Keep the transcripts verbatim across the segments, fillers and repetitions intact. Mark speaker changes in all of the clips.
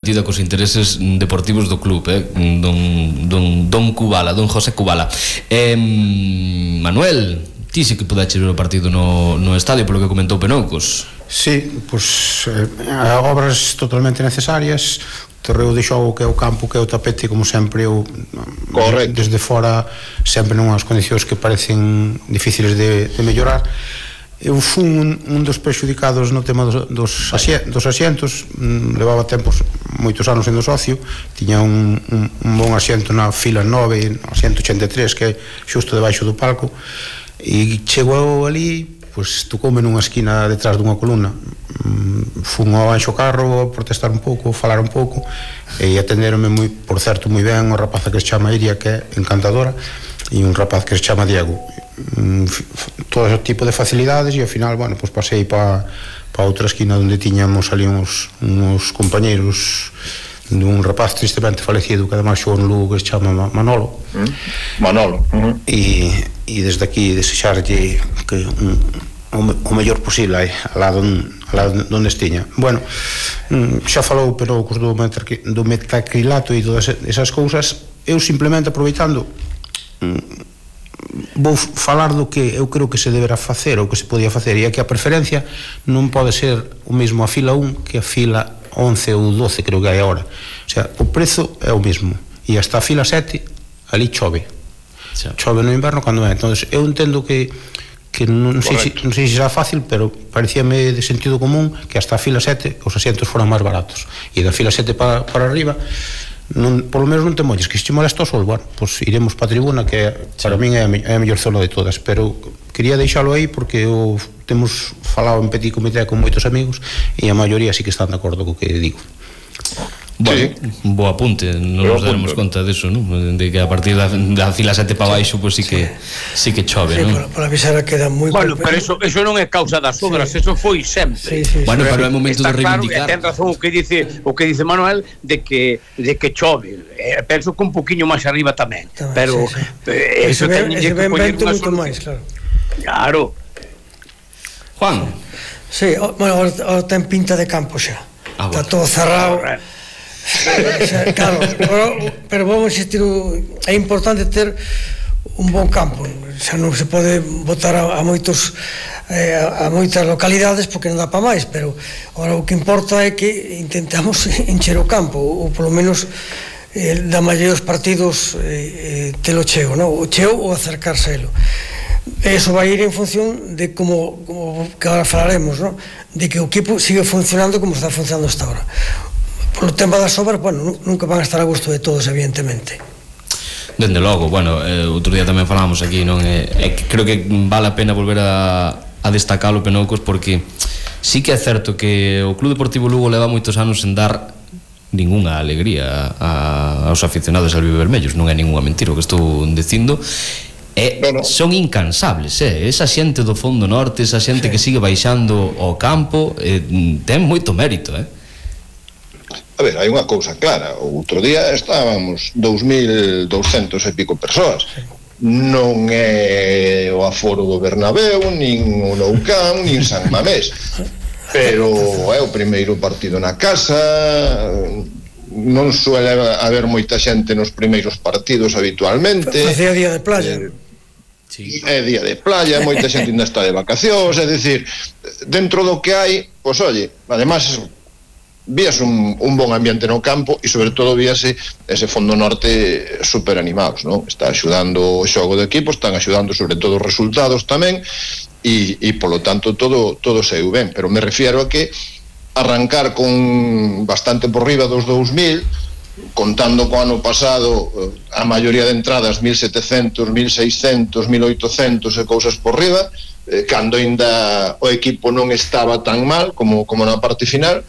Speaker 1: Tida cos intereses deportivos do club, eh? don, don, don Kubala, don José Kubala. eh, Manuel, ti sí que podaches ver o partido no, no estadio, polo que comentou Penoucos.
Speaker 2: Sí, pois eh, obras totalmente necesarias, o terreo de xogo que é o campo, que é o tapete, como sempre eu,
Speaker 3: correcto,
Speaker 2: desde fora sempre nunhas condicións que parecen difíciles de, de mellorar. Eu fui un, un dos prexudicados no tema dos, dos, asien, dos asientos. mm, levaba tempos, moitos anos sendo socio, tiña un, un, un bon asiento na fila nove, no asiento ochenta e tres, que é xusto debaixo do palco, e chegou ali, pois tocoume nunha esquina detrás dunha columna. mm, fun ao Anxo Carro a protestar un pouco, falar un pouco, e atenderonme moi, por certo, moi ben unha rapaza que se chama Iria, que é encantadora, e un rapaz que se chama Diego. mm, todo ese tipo de facilidades, e ao final, bueno, pois pasei para pa outra esquina onde tiñamos ali uns, uns compañeiros dun rapaz tristemente falecido que además xogou no Lugo, que se chama Manolo.
Speaker 3: mm. Manolo uh -huh.
Speaker 2: e, e desde aquí desexarlle que un, o, o mellor posible aí, alá onde estiña. Bueno, xa falou pero do, do metacrilato e todas esas cousas. Eu simplemente aproveitando vou falar do que eu creo que se deberá facer ou que se podía facer, e é que a preferencia non pode ser o mesmo a fila un que a fila once ou doce, creo que hai agora. O sea, o prezo é o mesmo, e hasta a fila sete ali chove, chove no inverno cando é. Entón, eu entendo que que non sei, se, non sei se será fácil, pero parecíame de sentido común que hasta a fila sete os asientos foran máis baratos, e da fila sete para, para arriba non, polo menos non te molles, que se te molesta o sol, bueno, pois iremos para a tribuna, que para min é a, é a mellor zona de todas. Pero quería deixalo aí porque eu, temos falado en petit comité con moitos amigos e a maioría sí que están de acordo co que digo.
Speaker 1: Bueno, sí, bo apunte, non nos daremos conta deso, non? De que a partir da, da fila sete para baixo, pois pues sí que sí que chove,
Speaker 4: sí,
Speaker 1: non?
Speaker 4: Sí, para avisar a queda moi...
Speaker 5: Bueno, pero eso, eso non é causa das obras, sí. Eso foi sempre.
Speaker 4: Sí, sí,
Speaker 1: bueno,
Speaker 4: sí,
Speaker 1: pero é momento de reivindicar.
Speaker 5: Claro, ten razón o que dice o que dice Manuel de que de que chove. Eh, penso que un poquinho máis arriba tamén, tamén pero sí, sí. Eh, eso ten que poñer unha solución máis, claro. Claro.
Speaker 1: Juan.
Speaker 4: Sí, bueno, ahora ten pinta de campo xa. Ah, está bueno. Todo cerrado. Ah, claro, pero, pero vamos insistir, é importante ter un bon campo, xa non se pode botar a, a moitos eh, a moitas localidades porque non dá para máis, pero agora o que importa é que intentamos encher o campo, ou polo menos eh, da maioría dos partidos eh, telo cheo, no? O cheo ou acercárselo. Eso vai ir en función de como, como que agora falaremos, no? De que o equipo sigue funcionando como está funcionando hasta ahora. Por o tempo das obras, bueno, nunca van a estar a gusto de todos, evidentemente.
Speaker 1: Dende logo, bueno, eh, outro día tamén falamos aquí, non? Eh, eh, creo que vale a pena volver a, a destacar o Penoucos, porque sí que é certo que o Club Deportivo Lugo leva moitos anos en dar ningunha alegría a, aos aficionados albivermellos, non é ningunha mentira o que estou dicindo. E no, no. Son incansables, eh? Esa xente do fondo norte, esa xente sí. que sigue baixando ao campo, eh, ten moito mérito, eh?
Speaker 3: A ver, hai unha cousa clara. O outro día estábamos dous mil douscentos e pico persoas. Non é o aforo do Bernabéu, nin o Nou Camp, nin San Mamés, pero é o primeiro partido na casa. Non suele haber moita xente nos primeiros partidos habitualmente.
Speaker 4: Facía día de playa.
Speaker 3: eh, sí. É día de playa, moita xente ainda está de vacacións. É dicir, dentro do que hai, pois oye, además víase un, un bon ambiente no campo, e sobre todo víase ese fondo norte super animados, non? Está axudando o xogo de equipo, están axudando sobre todo os resultados tamén, e, e polo tanto todo, todo saiu ben. Pero me refiero a que arrancar con bastante por riba dos dous mil, contando co ano pasado a maioría de entradas mil setecentos, mil seiscentos, mil oitocentos e cousas por riba, eh, cando ainda o equipo non estaba tan mal como, como na parte final.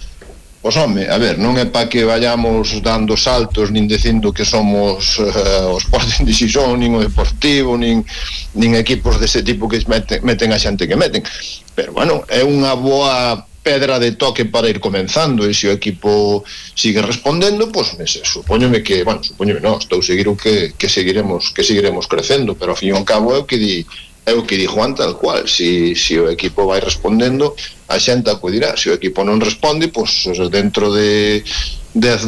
Speaker 3: Pois home, a ver, non é para que vayamos dando saltos nin dicindo que somos uh, o Sporting de Xixón, nin o Deportivo, nin, nin equipos dese tipo que meten, meten a xente que meten, pero bueno, é unha boa pedra de toque para ir comenzando, e se o equipo sigue respondendo, pois pues, supoñome que, bueno, supoñome non, estou seguro que, que seguiremos que seguiremos crecendo, pero ao fin e ao cabo é o que di é o que di Juan tal cual. Si, si o equipo vai respondendo, a xente acudirá. Se o equipo non responde, pois dentro de dez